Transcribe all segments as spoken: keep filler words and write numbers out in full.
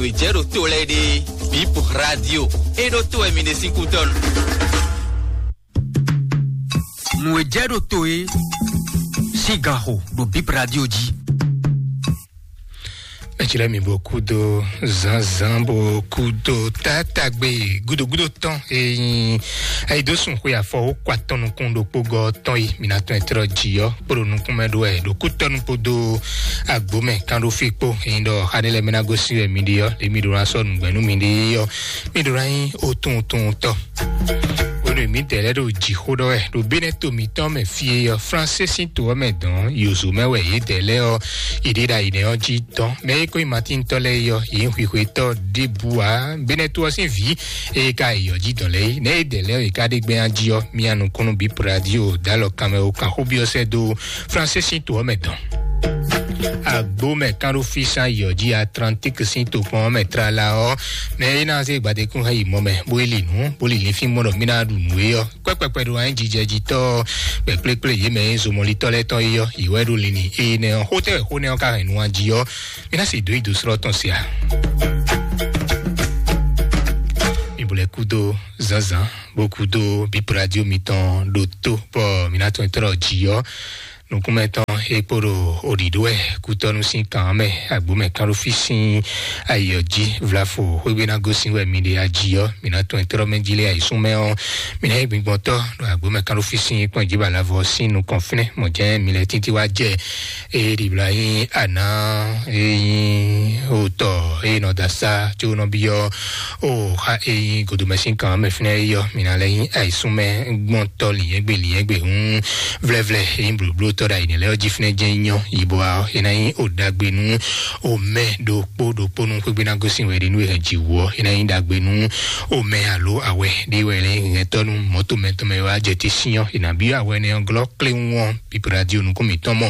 Nǔ e jɛ ɖo to lɛ́ɛ ɖe, Bip Radio, é ɖó to wɛ mi ɖe sín kútɔ́nu. Nǔ e jɛ ɖo to é sín ganxo ɖo Bip Radio jí. Mɛtsi lɛ́ɛ mi bo kúdo zǎnzǎn bo kúdo tátágbe gúdogúdo tɔn e nyí ayidósùn xwe afɔ wó kɔ atɔn nukún ɖokpó gɔ́ tɔn yi mi ná tɔn ɛ tlɔ jǐ ɔ́ kpóɖo nukún mɛ ɖó wɛ ɖo kútɔ́nu kpódó agbǒmɛ kánɖófí kpó. Ényí ɖɔ xá ɖé lɛ́ɛ mɛ ná gosín wɛ mi ɖe ɔ́, ɖě mi ɖó ná sɔ́ nǔgbɛ́ nú mi ɖe ɔ́, mi ɖó ná nyí otúntúntɔ. Bónú mǐdɛɛ lɛ́ɛ ɖo jǐxó ɖɔ wɛ ɖo Benɛ́to mǐtɔn mɛ fí e ɔ́, Fransé sín to ɔ́ mɛ dɔn yǒzo mɛ wɛ yědɛɛ lɛ́ɛ ɔ́, yě ɖe ɖo ayǐ nɛ́ ɔ́ jí dɔn. Mɛ e ko nyí Matíntɔ́ lɛ́ɛ é ɔ́, yě nyí xwixwetɔ́ ɖěbǔ ǎ. Benɛ́to ɔ́ sín vǐ e ka yi yɔ jí dɔn lɛ́ɛ é, nɛ̌ yědɛɛ lɛ́ɛ ɔ́, yě ka ɖe gbɛ́ jí ɔ́, mía nukúnnú Bip Radio dó alɔ kanmɛ ó kan xó byɔ́ sɛ́ dó Fransé sín to ɔ́ mɛ dɔn. Agbǒmɛ kánɖófísán yɔ jí Atlantík sín tokpɔn ɔ́ mɛ tlala ɔ́, mɛ e ná zé gbadékún hɛn yi mɔ mɛ, bó yi li nǔ, bó li linfín mɔ ɖɔ mí ná ɖu nǔ é ɔ́, kpɛ́kpɛkpɛ ɖo anyíjijɛ jí tɔ́ ɔ́, kpɛ̌kplékplé yě mɛ e nyí zomɔlítɔ́ lɛ́ɛ tɔn é ɔ́, yě wɛ ɖo linlin énɛ́ ɔ́. Xó tɛ́ wɛ xó nɛ́ ɔ́ ka hɛn nu jí ɔ́, mí ná se dǒ yi dǒ slɔ́ tɔn se a? Mi bo lɛ́ kúdó zǎnzǎn, bó kúdó Bip Radio mitɔn ɖo tó, bɔ mǐ ná tɔn tlɔ́ jǐ ɔ́. Nukúnmɛ tɔn e kpo ɖo oɖiɖó wɛ kútɔ́nú sín kan ɔ́ mɛ, agbǒmɛ kánɖófí sín ayɔ jí vlafo xwégbé ná gosín wɛ mi ɖe ají ɔ́, mi ná tɔn tlɔ́ mɛ jí lé ayǐsúnmɛ ɔ́, mi ná nyí gbingbɔntɔ́ ɖo agbǒmɛ kánɖófí sín kpɔ́n jí balavɔ sín nukɔn fínɛ́. Mɔ̌ jɛ́n mi lɛ́ títí wá jɛ e ɖibla nyí ana e nyí otɔ e nɔ da sa tso nɔ byɔ́ o xa e nyí godomɛsín kan mɛ fínɛ́ yɔ mi ná lɛ nyí ayisúnmɛ gbɔn tɔ lìyɛ́gbè lìyɛ́gbè hún vlɛvlɛ e nyí blǒblótɔ́ ɖo ayǐnɛ lɛ́ɛ ɔ́ jí fínɛ́ jɛ́n nyɔ yibɔ ɔ́ e ná nyí o ɖagbe nú o mɛ ɖokpó ɖokpó nú xwégbé ná gosín wɛ ɖe nú e hɛn jǐ wú ɔ́ e ná nyí ɖagbe nú o mɛ alo awɛ ɖé wɛ lɛ́ hɛntɔ́ nú mɔ̌to mɛtɔn mɛ wá jɛ te sín ɔ́ e nǎ byɔ́ awɛ nɛ́ ɔ́ glɔ́ kléwún ɔ́. Bíbélì radio nukún mǐtɔn mɔ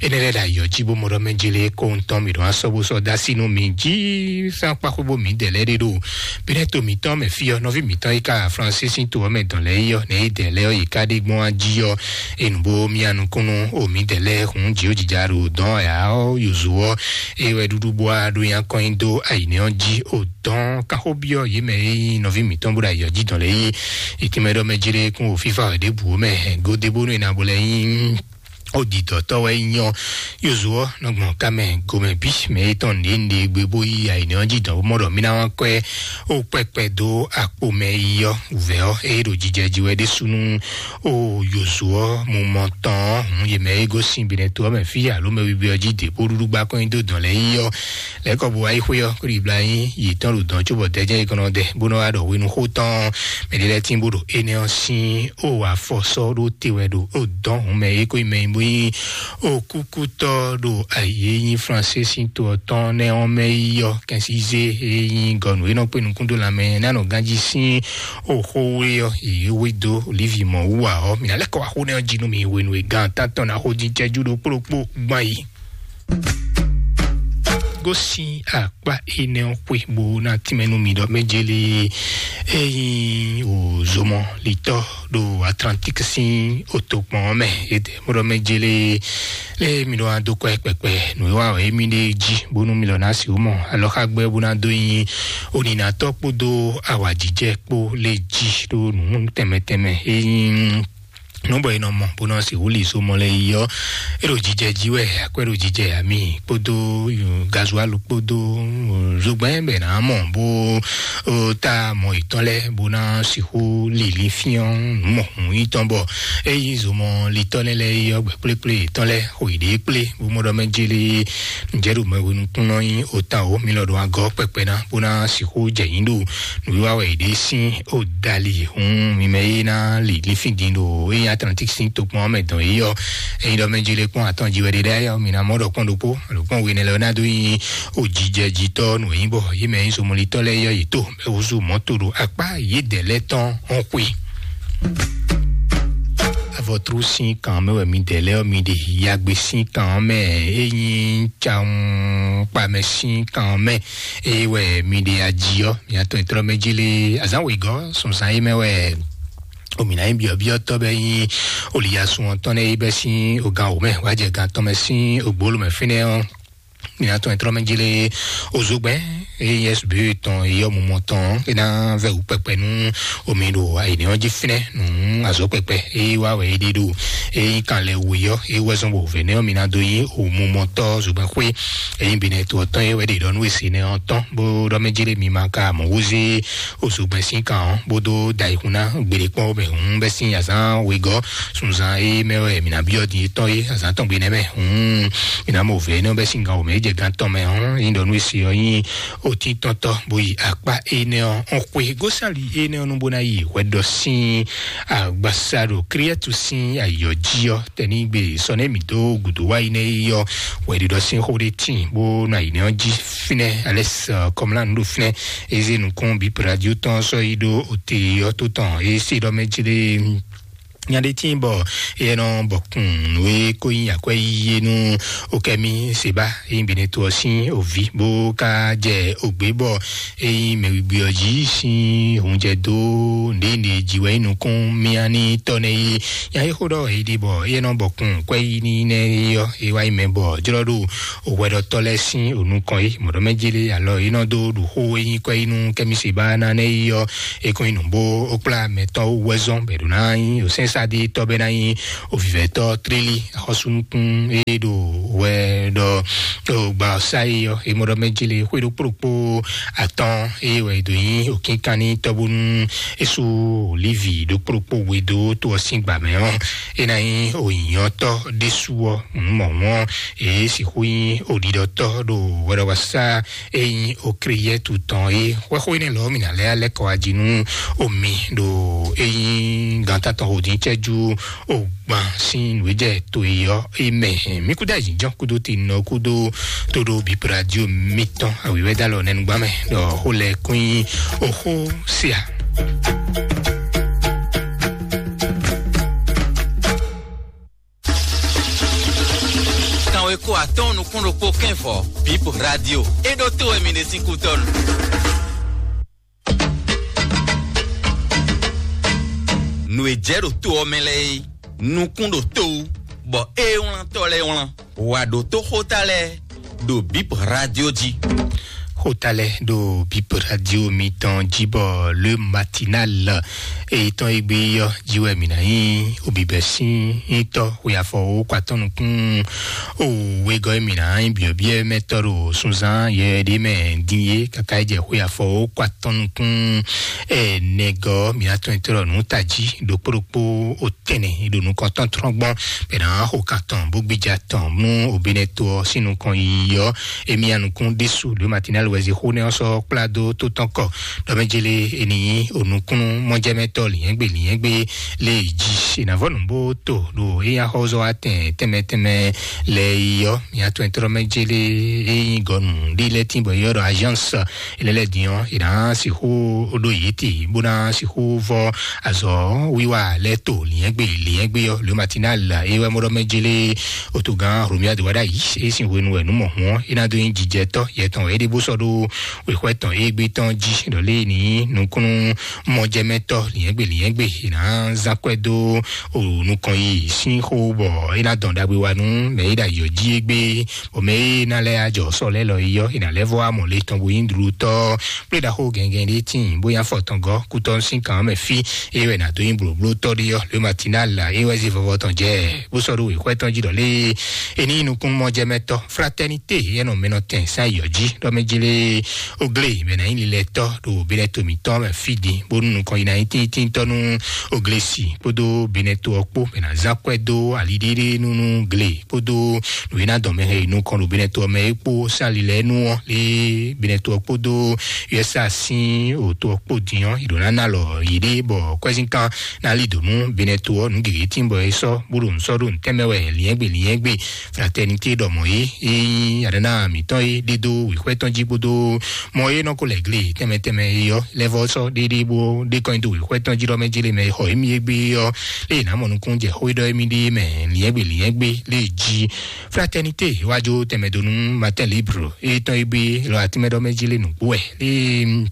énɛ́ lɛ́ɛ ɖo ayǐ ɔ́ jí bó mɔ ɖɔ mɛ jélé kó ŋutɔn mǐ ɖo asɔ bó sɔ́ dó así nú mi jí sán kpáxwé bó mǐ dɛ lɛ́ɛ ɖé ɖo Bínɛ́to mǐtɔn mɛ fí ɔ́, nɔví mǐtɔn e ka Fransísi to ɔ́ mɛ dɔn lɛ́ɛ é ɔ́, nɛ̌ é dɛ lɛ́ɛ ɔ́, yě ká ɖe gbɔn wá jí ɔ́, é nǔ bó mía nukúnnú o mǐdɛɛ lɛ́ɛ hun jǐ ɔ́ jija ɖo dɔ̌n ǎ ɔ́, yozo ɔ́, é wɛ ɖuɖu bó wá ɖó nyá kɔn nyi dó ayǐ nɛ́ ɔ́ jí o dɔ̌n kanxó byɔ́ yě mɛ e nyí nɔví mǐtɔn bó ɖo ayǐ ɔ́ jí dɔn lɛ́ɛ é. È tínmɛ ɖɔ mɛ jélé kún o fífá wɛ ɖěbǔ mɛ gǒ dé bónú è nǎ bo lɛ́ nyí o didɔtɔ́ wɛ nyí ɔ́, yozo ɔ́ nɔ gbɔn ká mɛ gomɛ bí mɛ e tɔn nǔɖé nǔɖé gbe bó yí ayǐnɛ ɔ́ jí dɔn bó mɔ ɖɔ mí ná wá kɔ́ ɛ ó kpɛkpɛ dó akpo mɛ yi ɔ́ wǔvɛ́ ɔ́, eye ɖo jijɛ jí wɛ ɖésúnú o yozo ɔ́ mu mɔ tɔn ɔ́, hǔn yě mɛ e gosín binɛ to ɔ́ mɛ fí alo mɛ wiwi ɔ́ jí dě bó ɖuɖu gbá kɔn nyi dó dɔn lɛ́ɛ yi ɔ́, lɛ̌ kɔ bó wá yi xwé ɔ́, kó ɖi bla nyí yětɔn ɖo dɔn cóbɔ dɛjɛ́ yi kɔn nɔ dɛ bó nɔ wá ɖɔ hwenu xó tɔn mɛ ɖé lɛ́ɛ tín bó ɖo énɛ́ ɔ́ sín ó afɔ sɔ́ ɖó te wɛ ɖo ó dɔn hǔn mɛ e ko nyí mɛ e bó nyí ó kúkútɔ́ ɖo ayǐ e nyí Fransé sín to ɔ́ tɔn nɛ́ ɔ́ mɛ yi ɔ́, kɛnsízé e nyí gɔnu e nɔ kpé nukún dó lanmɛ ná nɔ ganjí sín ó xó wé ɔ́, yě wé dó olívi mɔ wú ǎ ɔ́, mǐ ná lɛ́ kɔ wá xó nɛ́ ɔ́ jí nú mi hwenu e gan tántɔn ná xó dín cɛ́jú ɖokpó ɖokpó gbɔn yi. Gosín akpá énɛ́ ɔ́ xwé bó ná tínmɛ nú mi ɖɔ mɛ jélé ényí wò zomɔ litɔ́ ɖo Atlantík sín otokpɔn ɔ́ mɛ. Édɛ́ mɔ ɖɔ mɛ jélé lé mi ɖɔ wá dó kɔ́ ɛ kpɛkpɛ nǔ e wa wɛ émí ɖe jí bónú mi lɔ ná sixú mɔ alɔxágbɛ́ bó ná dó nyí oninatɔ́ kpódó awǎjijɛ kpó lé jí ɖó nǔ tɛnmɛ tɛnmɛ ényí nú bɔ è nɔ mɔ bó nɔ sixú li so mɔ lɛ yi ɔ́, é ɖo jijɛ jí wɛ, akwɛ́ ɖo jijɛ ami kpódó gazualu kpódó zogbɛ́n bɛ nǎ mɔ bó ta mɔ yětɔn lɛ́ɛ bó ná sixú li linfín nǔ mɔ̌hun yítɔn bɔ é yí zomɔ litɔ́ nɛ́ lɛ́ɛ yi ɔ́, gbɛ̌kplékplé yětɔn lɛ́ɛ xo yě ɖée kplé bó mɔ ɖɔ mɛ jélé nǔjɛ ɖo mɛ hwenu kún nɔ nyí otan o, mi lɔ ɖo agɔ́ kpɛkpɛ ná bó ná sixú jɛ nyǐ ɖo nǔwiwa wɛ yě ɖe sín ó dali hun mi mɛ e ná li linfín din ɖo é nyí Atlantík sín tokpɔn ɔ́ mɛ dɔn yě ɔ́. Ényí ɖɔ mɛ jile kpɔ́n atɔn ji wɛ ɖe ɖ'ayǐ ɔ́, mi ná mɔ ɖɔ kpɔ́n ɖokpó alo kpɔ́n we nɛ́ lɛ́ɛ ɔ́ ná dó nyí ó jijɛ jitɔ́ nǔ e nyí bɔ yě mɛ nyí zomɔlitɔ́ lɛ́ɛ yɔ yě tó mɛ húzú mɔ̌ to ɖo akpá yědɛɛ lɛ́ɛ tɔn ɔ́ xwé. Avɔtru sín kan mɛ wɛ mi dɛ lɛ́ ɔ́ mi ɖe, yagbe sín kan ɔ́ mɛ, é nyí cawun kpamɛ sín kan ɔ́ mɛ, é wɛ mi ɖe aji ɔ́, mi atɔn e tlɔ́ mɛ jí lé azǎn wěgɔ́ sɔnsán é mɛ wɛ omǐ ná nyí byɔ̌byɔ́tɔ́ bɛ́ nyí oliyasun ɔ́ tɔn nɛ́ é bɛ́ sín ogan wǒ mɛ wá jɛ gan tɔn mɛ sín ogbóló mɛ fínɛ́ ɔ́. Mina tɔn e tlɔ́ mɛ jí lé ozogbɛn, eye S B tɔn e yɔ mumɔ tɔn e ná vɛ wú kpɛkpɛ nú omi ɖo ayǐnɛ́ ɔ́ jí fínɛ́ nú azɔ̌ kpɛkpɛ e wá wɛ é ɖe ɖo e nyí kan lɛ we yɔ e wɛ zɔn bɔ vɛ̌ nɛ́ ɔ́ mi ná dó nyí omumɔtɔ́ zogbɛn xwé e nyí binɛ to ɔ́ tɔn e wɛ ɖe ɖɔ nú e se nɛ ɔ́ tɔn bó ɖɔ mɛ jí lé mi ma ka mɔ wúzí ozogbɛn sín kan ɔ́ bó dó da ayǐkún ná gbeɖé kpɔ́n mɛ hǔn bɛ́ sín azǎn wegɔ́ sunzan e mɛ wɛ mǐ ná byɔ́ din yětɔn é azǎn tɔn gbe nɛ́ mɛ. Hǔn mǐ ná mɔ vɛ̌ énɛ́ bɛ́ sín gan wǒ mɛ é jɛ gan tɔn mɛ hɔn é nyí ɖɔ nú e se ɔ́ nyí otíntɔ́ntɔ́ bó yi akpá énɛ́ ɔ́ xwe gósali énɛ́ ɔ́ nú bó ná yi hwɛɖɔ sín agbasa ɖo Kriɛtu sín ayǐ ɔ́ jí ɔ́ tɛnígbe sɔ nɛ́ mǐ dó gǔdo wá yi nɛ́ yi ɔ́ hwɛɖiɖɔ sín xó ɖé tíin bó nɔ ayǐ nɛ́ ɔ́ jí fínɛ́ alɛ́ kɔmlá nǔ ɖo fínɛ́ é zé nukún bí radio tɔn sɔ́ yi ɖó ote ɔ́ tó tɔn é sí ɖɔ mɛ jí ɖé nya ɖé tíin bɔ é nɔ bɔ kun nǔ e ko nyí akwɛ́ yíyí nú okɛ́mí seba é nyí beneto ɔ́ sín òví bó ka jɛ ògbé bɔ é nyí mɛwigbí ɔ́ jí sín hunjɛ dó nɖěnɖě jí wɛ nyí nukún mía ní tɔ́ nɛ́ yí nya é xó ɖɔ é ɖi bɔ é nɔ bɔ kun kwɛ́ yí ní nɛ́ é ɔ́ é wá nyí mɛ bɔ jlɔ́ ɖo òhwɛɖɔtɔ́ lɛ́ɛ sín ònukɔn é mɔ̌ɖɔmɛjélé alɔ é nɔ dó ɖu xó e nyí kwɛ́ yí nú kɛ́mí seba ná nɛ́ yí ɔ́ é kɔn nyi nǔ bó ó kplá mɛ tɔn wú wɛ zɔn bɔ è ɖǒ ná nyí osɛ́nsáɖí tɔ́ bɛ́ ná nyí ovǐvɛ́tɔ́ trílí axɔ́súnukún e ɖo hwɛ ɖɔ ɖo gba ɔ́ sá é ɔ́ é mɔ ɖɔ mɛ jí le xwé ɖokpó ɖokpó atɔ́ɔ́n eye wɛ è dǒ nyí òkínkanní tɔ́ bónú é sú olívi ɖokpó ɖokpó we dó tó ɔ́ sín gbǎ mɛ ɔ́ é ná nyí ònyìnyɔ́tɔ́ ɖésú ɔ́ mɔ̌hún ɔ́ èé sixú nyí òɖiɖɔtɔ́ ɖo hwɛɖɔwasá e nyí Okliyɛ́tu tɔn é. Xwɛxwé nɛ́ lɔ̌ mǐ ná lɛ́ lɛ́ kɔ wá jí nú omi ɖo e nyí gǎnta tɔn hodín cɛ́jú ogban sín nǔ e jɛ to e ɔ́ é mɛ. Mí kúdó ayǐjínjɔ́n kúdó tinɔ kúdó tóɖó bíbradio mítɔn awǐwɛ́dá lɔ nɛnugbá mɛ ɖɔ xó lɛ́ kún nyí oxó sia. Kanweko atɔ́ɔ́n nukún ɖokpó kɛ́nvɔ bíp radio é ɖó tó wɛ mi ɖe sín kútɔ́nu. Nǔ e jɛ ɖo to ɔ́ mɛ lɛ́ɛ é nukún ɖo to wú bɔ é wlántɔ́ lɛ́ɛ wlán wǎ ɖó tó xóta lɛ́ɛ ɖo bíp radio jí. Xóta lɛ́ɛ ɖo bíp radio mitɔn jí bɔ le matinal èyí tɔn égbé ɔ́ jí wɛ mǐ ná nyí obibɛ sín nyítɔ́ xwe afɔ wó kɔ atɔ́ nukún o wegɔ́ e mǐ ná nyí byɔ̌byɔ́ mɛ tɔ́ ɖo sunzán yɛ ɖé mɛ dín é káká é jɛ xwe afɔ wó kɔ atɔ́ nukún ɛnɛgɔ́ mǐ ná tɔn tɔ́ nǔ tají ɖokpó ɖokpó o tɛnɛ ɖo nukɔntɔn trɔ́n gbɔn bɛ ná xo kan tɔn bó gbéjà tɔn nú obinɛ to ɔ́ sín nukɔn yiyi ɔ́ émí anukún ɖésú ló matinal wɛzi xó nɛ ɔ́ sɔ́ kplá dó tó tɔn kɔ ɖɔmɛjélé eni nyí onukúnnú mɔjɛmɛtɔ lìyɛngbé lìyɛngbé lé jí ìnàvɔnù bó tó ɖo éyá xɔzɔ atɛn tɛmɛ tɛmɛ lɛ yi ɔ́ mía tɔn tɔrɔ mɛ jélé éyí gɔnu ɖi lɛ tín bɔ yɔ ɖɔ agence ele lɛ dín ɔ́ ìná sixú ɖo yìí tì bó ná sixú vɔ azɔ wíwá lɛ tó lìyɛngbé lìyɛngbé ɔ́ le matinal ewɛ mɔɖɔ mɛ jélé otogán romia de wada yi e sin hwenu wɛ numɔ hɔn e na do yin jijɛtɔ yɛtɔn e de bo sɔ ɖo wexwɛ tɔn e gbe tɔn ji ɖɔ le ni nukunu mɔjɛmɛtɔ liɛngbe liɛngbe e na zan kwɛ do o nukɔn yi sin xo bɔ e na dɔn dagbe wa nu mɛ e da yɔ ji egbe bɔ mɛ e na lɛ ajɔ sɔ lɛ lɔ yi yɔ e na lɛ vɔ amɔ le tɔn bo yin dlu tɔ kple ɖaxo gɛngɛn ɖe tin bóyá fɔtɔngɔ kutɔ sin kan mɛ fi eye wɛ na do yin bloblo tɔ ɖe yɔ le matinal la eye wɛ zi vɔvɔ tɔn jɛ bó sɔ ɖo wexwɛ tɔn ji ɖɔ le eni nukun mɔjɛmɛtɔ fraternité yɛ nɔ mɛnɔ tɛn sa yɔ ji ɖɔ mɛ ji le ogle mɛ na yin lilɛ tɔ ɖo benɛ tomi tɔ mɛ fi di bó nu nukɔn yi na yin tintin tɔ nu ogle si kpódó benɛ to ɔkpó mɛ na zan kwɛ dó ali ɖiɖi nunu gle kpódó nǔwíná dɔn mɛ hɛn yi nukɔn ɖo benɛ to mɛ é kpó sali lɛ nu ɔ lé benɛ to kpódó usa sin o to kpó diɔ yi ɖo nana lɔ yi ɖe bɔ kwɛzinkan na li donu benɛ to ɔ nu gege tin bɔ e sɔ bó ɖo nsɔ ɖo ntɛmɛ wɛ liɛngbe liɛngbe fraternité ɖɔ mɔ yi yi adana mitɔn yi ɖe do wixwɛ tɔn ji kpódó mɔ yi nɔ ko lɛ gle tɛmɛ tɛmɛ yi yɔ lɛvɔ sɔ ɖe ɖe bó ɖe kɔn do wixwɛ tɔn ji ɖɔ mɛ ji le mɛ xɔ emi egbe yɔ eye na mɔ nukun jɛ xó ɖɔ emi ɖe mɛ liɛngbe liɛngbe le ji fraternité wájú tɛmɛdonu matin libre etɔn ebe lɔ atimɛdɔmɛdzi le nùgbó ɛ le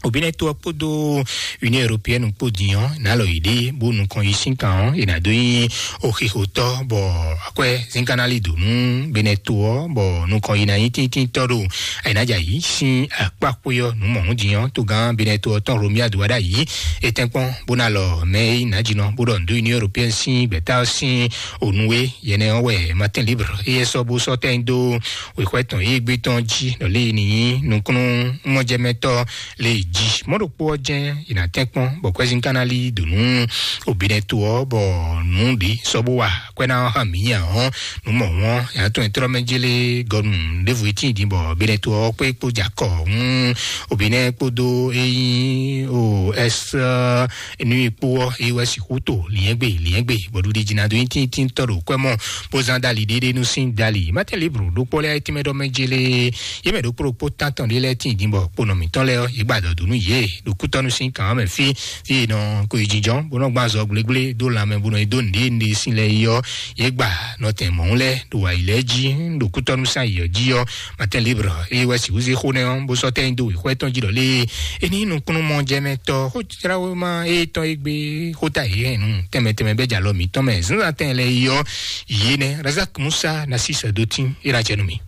Obinɛ to ɔ́ kpódó Union Européenne kpó din ɔ́, nǎ lɔ yě ɖe bó nukɔn yi sín kan ɔ́, è nǎ dó nyí oxixotɔ́, bɔ akwɛ́ zínkanálí dǒ nú Benɛ to ɔ́, bɔ nukɔn yi ná nyí tíntíntɔ́ ɖo ayǐnájà yí sín akpá xwé ɔ́ nǔ mɔ̌hun din ɔ́, togán Benɛ to ɔ́ tɔn Romia dó wá ɖ'ayǐ. É tɛ́nkpɔ́n bó ná lɔ mɛ e nyí nǎjínɔ bó ɖɔ nǔ dó Union Européenne sín gbɛ̌ta ɔ́ sín ònú é. Yɛnɛ ɔ́ wɛ Matin Libre éyɛ́ sɔ́ bó sɔ́ tɛ́nyi dó wěxwɛ́ tɔn e gbé tɔn jí ɖɔ lě e ní nyí nukúnnú mɔjɛmɛtɔ́ lě jí. Mɔ̌ ɖokpó ɔ́ jɛ́n è nǎ tɛ́nkpɔ́n bɔ kwɛ́zín ka ná lí dǒ nú Obinɛ to ɔ́, bɔ nǔ ɖě sɔ́ bó wa kwɛ́ ná hán mǐ nya ɔ́, nǔ mɔ̌hun ɔ́, è nǎ tɔn nyi tlɔ́ mɛ jélé gɔnu ɖěvo e tíin din bɔ Obinɛ to ɔ́ kpé kpó jɛ akɔ hún Obinɛ kpódó é nyí o ɛsɛ nú kpó ɔ́, é wɛ sixú to lǐnyɛ́gbe lǐnyɛ́gbe, bɔ ɖuɖi jí ná dó nyí tíntíntɔ́ ɖo kwɛ́ mɔ bó zán dali ɖéɖé nú sín dali. Matin Libre ɖokpó lɛ́ɛ tínmɛ ɖɔ mɛ jélé yě mɛ ɖokpó ɖokpó tántɔn ɖé lɛ́ɛ tíin din bɔ kponɔ mǐtɔn lɛ́ɛ ɔ́, yě gba dɔ̌ dó nú yě ɖo kútɔ́nú sín kǎn mɛ fí, fí e nɔ ko yi jínjɔ́n bó nɔ gbán azɔ̌ gblégblé dó lanmɛ bó nɔ yi dó nǔɖé nǔɖé sín lɛ́ɛ yi ɔ́, yě gba nɔtɛn mɔ̌hun lɛ́ɛ ɖo wǎyi lɛ́ɛ jí ɖo kútɔ́nú sín ayǐ ɔ́ jí ɔ́. Matin Libre eye wɛ sixú zé xó nɛ́ ɔ́ bó sɔ́ tɛ́nyi dó wěxwɛ́ tɔn jí ɖɔ lé e ní nukúnnú mɔ jɛ mɛ tɔ xó jláwéma e tɔn e gbe xóta yě hɛn nú tɛnmɛ tɛnmɛ bɛ́ jalɔ mǐtɔn mɛ zínzán tɛn lɛ́ɛ yi ɔ́, yě nɛ́ Razak Musa Nasis Dotin é ná jɛ nú mì.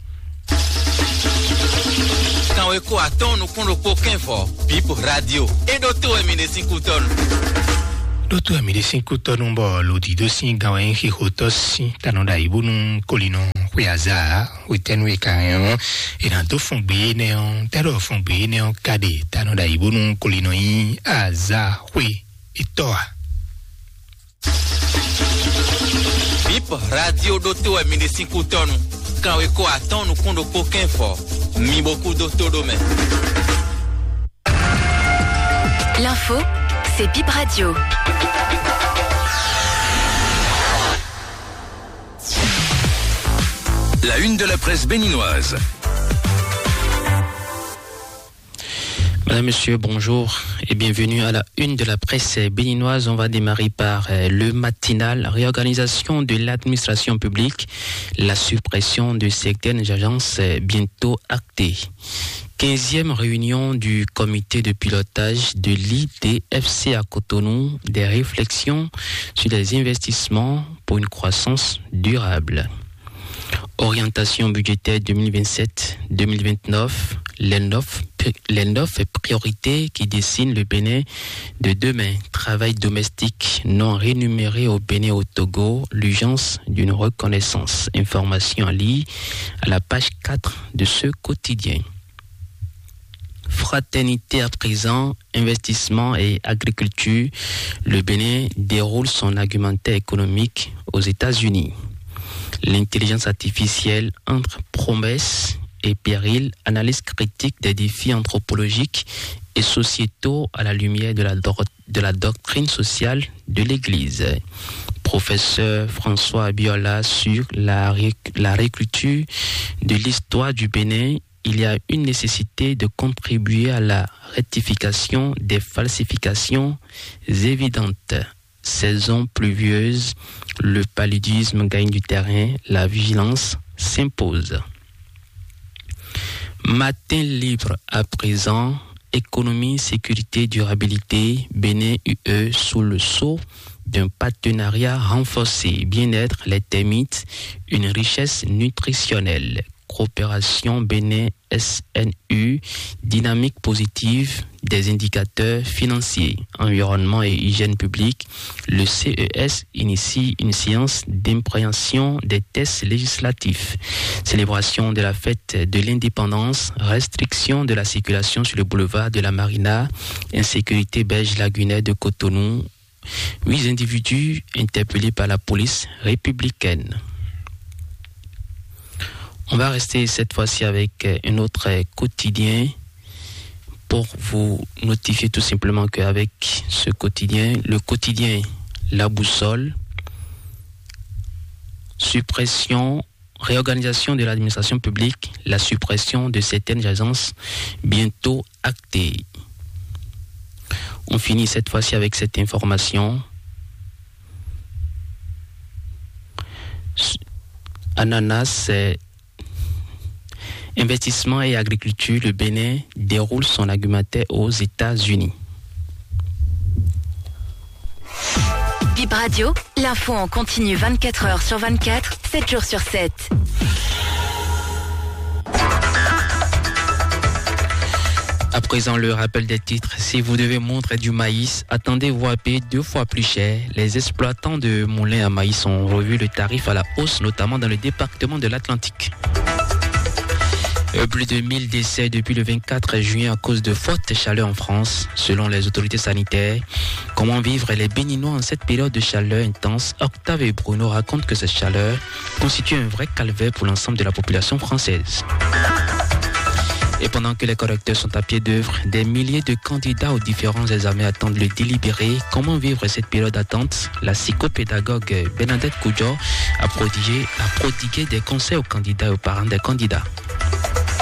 Kanweko atɔ́ɔ́n nukún ɖokpó kɛ́n vɔ Bip Radio. É ɖótó wɛ mi ɖe sín kútɔ́nu. Ɖótó wɛ mi ɖe sín kútɔ́nu bɔ lòdì dó sín gan wɛ nyí xixotɔ́ sín tanɔ ɖo ayǐ bónú kólinɔ xwe azǎ wetɛ́nú e ka hɛn ɔ́, è nǎ dó fɔn gbě énɛ́ ɔ́, tɛ́ɖɔ fɔn gbě énɛ́ ɔ́ ka ɖe tanɔ ɖo ayǐ bónú kólinɔ nyí azǎ xwe étɔ́ ǎ. Bip Radio ɖótó wɛ mi ɖe sín kútɔ́nu. Kanweko atɔ́ɔ́n nukún ɖokpó kɛ́n vɔ. Mi bo kú dó tó ɖó mɛ. L'info, c'est Bip Radio. La une de la presse béninoise. Madame, Monsieur, bonjour et bienvenue à la une de la presse béninoise. On va démarrer par euh, le matinal. Réorganisation de l'administration publique, la suppression de certaines agences euh, bientôt actée. Quinzième réunion du comité de pilotage de l'I D F C à Cotonou, des réflexions sur les investissements pour une croissance durable. Orientation budgétaire deux mille vingt-sept deux mille vingt-neuf, les neuf, les neuf priorités qui dessinent le Bénin de demain. Travail domestique non rémunéré au Bénin, au Togo, l'urgence d'une reconnaissance. Information à lire à la page quatre de ce quotidien. Fraternité à présent, investissement et agriculture. Le Bénin déroule son argumentaire économique aux États-Unis. L'intelligence artificielle entre promesses et périls, analyse critique des défis anthropologiques et sociétaux à la lumière de la, dor- de la doctrine sociale de l'Église. Professeur François Abiola sur la, ré- la réécriture de l'histoire du Bénin, il y a une nécessité de contribuer à la rectification des falsifications évidentes. Saison pluvieuse, le paludisme gagne du terrain, la vigilance s'impose. Matin libre à présent, économie, sécurité, durabilité, Bénin U E sous le sceau d'un partenariat renforcé, bien-être, les termites, une richesse nutritionnelle. Coopération Bénin S N U, dynamique positive des indicateurs financiers, environnement et hygiène publique, le C E S initie une séance d'impréhension des tests législatifs. Célébration de la fête de l'indépendance, restriction de la circulation sur le boulevard de la Marina, insécurité belge lagunaire de Cotonou, huit individus interpellés par la police républicaine. On va rester cette fois-ci avec euh, un autre euh, quotidien pour vous notifier tout simplement qu'avec ce quotidien, le quotidien La Boussole, suppression, réorganisation de l'administration publique, la suppression de certaines agences bientôt actée. On finit cette fois-ci avec cette information. Ananas, euh, Investissement et agriculture, le Bénin déroule son argumentaire aux États-Unis. Bip Radio, l'info en continu vingt-quatre heures sur vingt-quatre, sept jours sur sept. À présent, le rappel des titres. Si vous devez moudre du maïs, attendez-vous à payer deux fois plus cher. Les exploitants de moulins à maïs ont revu le tarif à la hausse, notamment dans le département de l'Atlantique. Euh, plus de mille décès depuis le vingt-quatre juin à cause de fortes chaleurs en France, selon les autorités sanitaires. Comment vivre les Béninois en cette période de chaleur intense ? Octave et Bruno racontent que cette chaleur constitue un vrai calvaire pour l'ensemble de la population française. Et pendant que les correcteurs sont à pied d'œuvre, des milliers de candidats aux différents examens attendent le délibéré. Comment vivre cette période d'attente ? La psychopédagogue Bernadette Koudjor a prodigué, a prodigué des conseils aux candidats et aux parents des candidats.